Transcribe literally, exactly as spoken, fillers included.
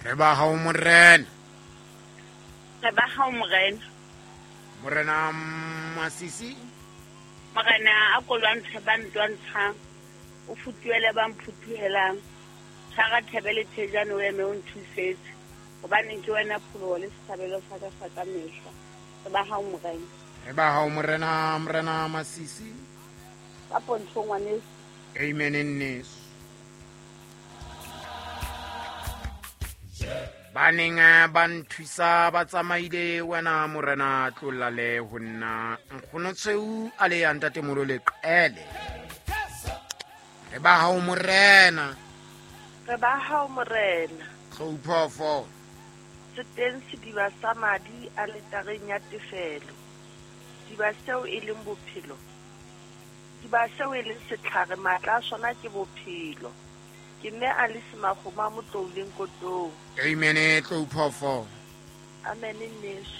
Re ba hao morena. Re ba hao morena. Morena Masisi. Morena a ko lwantshe ba ntwantshang, o futuhele ba mphutuhelang. Tshwara thebe le thejane o eme o nthusetse, hobane ke wena pholoho le setshabelo sa ka sa ka mehla. Re ba hao morena. Re ba hao morena, morena Masisi. Ka pontsho ngwaneso. Amen nneso. Ba neng ba nthusa ba tsamaile wena morena tlolla le ho nna. Nkgono Tshweu a le ya ntatemolo leqele. Re ba hao morena. Re ba hao morena. Tlou phoofolo. Se teng sediba sa madi a letareng ya tefelo. Diba seo e leng bophelo. Diba seo e leng setlhare matla a sona ke bophelo. Ke mme a le semakgoma a motlouleng kotong. Amen tlou phoofolo. Amen nneso.